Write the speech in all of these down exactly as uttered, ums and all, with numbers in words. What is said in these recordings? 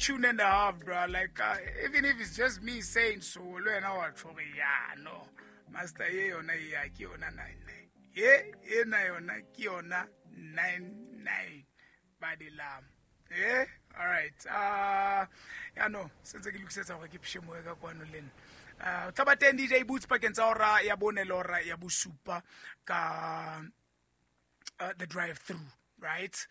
Tune and a half, bro. Like, uh, even if it's just me saying so, le wena wa tjho hore, ya no master, ye yona ya ke yona nine nine, ye ena yona ke yona nine nine ba di lam. Eh, all right. Uh ya no, sentse ke lokisetsa hore ke pshe moya ka kwano le nna. Uh tla ba teng D J Boots pakeng tsa hora ya bone le hora ya bosupa ka uh, the drive through, right?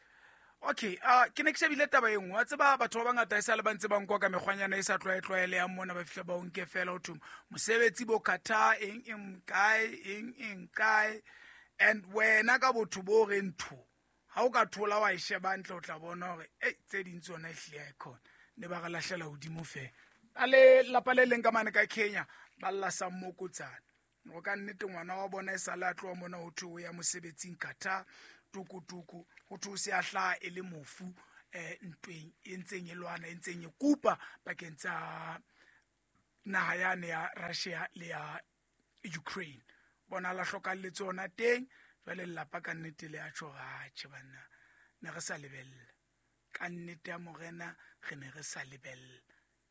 Okay, uh ke ne ke shebile taba e nngwe. Wa tseba, batho ba bangata e sa le ba ntse ba nkwa ka mekgwanyana e sa tlwaetlwaelehang mona. Ba fihla ba o nke fela, ho thwe mosebetsi bo Qatar, eng eng kae, eng eng kae. And wena ka botho bo re ntho ha o ka thola wa e sheba ntle, o tla bona hore ei, tse ding tsona e hlile ha e khona ne ba re lahlela hodimo fela. A le lapa le leng ka mane ka Kenya ba lla sa mmokotsana go ka nnete. Ngwana wa bona e sale a tloha mona, ho thwe o ya mosebetsing Qatar, tukutuku, ho thwe o se a hlaha e le mofu um ntweng e ntseng e lwana, e ntseng e kupa pakeng tsa naha yane ya Russia le ya Ukraine. Bona la hlokalletse ona teng. Jwale lelapa ka nnete le a tjho, atjhe banna, ne re sa lebella ka nnete ya morena, re ne re sa lebella.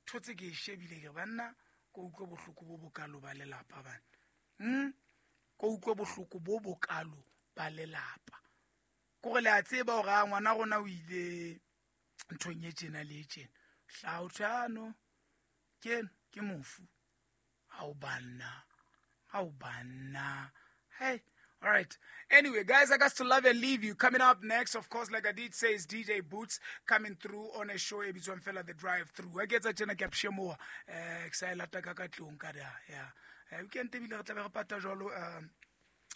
Thotse ke e shebile, ke re banna, ko utlwe bohloko bo bokalo ba lelapa bana. hmm? Ko utlwe bohloko bo bokalo ba lelapa, kore le a tseba hore a ngwana rona o ile nthong e tjena le e tjena, hlaha ho thwe ano ke eno ke mofu. Ao banna, ao banna, hey. All right. Anyway, guys, I got to love and leave you. Coming up next, of course, like I did say, is D J Boots coming through on a show e bitswang fela The Drive Through. A ke etsa tjena ke a pshemoha. Eh, ke sa e lata ka ka tlung ka da. Yeah. Eh, weekend ebile re tla be re pata jwalo, um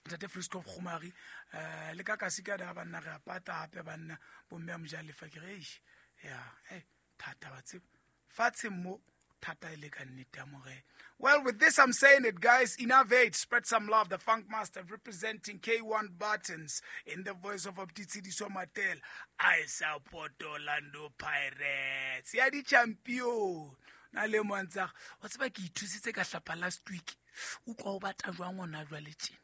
Ntate Frisco Kgomari, eh le ka kasi ka da banna, re a pata hape banna, bomme a mojalefa ke re eish. Yeah, eh thata ba tseba. Fatshe mo thata e le ka nnete ya morena. Well, with this I'm saying it, guys. Innovate, spread some love. The Funk Master representing K one Buttons in the voice of Optitsediso Matel. I support Orlando Pirates. Ya di champion. Na le mo ntsa wa tseba ke ithusitse ka hlapa last week. Utlwa o batla jwang hona jwale tjena.